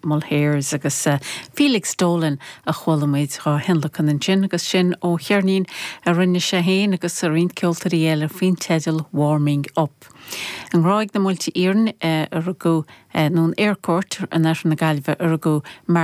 Mulhairs agus Felix Dolan a chuala muid dhá thionlacan ansin agus sin ó cheirnín a rinne sé féin agus roinnt ceoltóirí eile faoin teideal Warming Up. I nGráig na Muilte Iarainn a rugadh, nó in Eyrecourt in oirthear na Gaillimhe a rugadh Mark.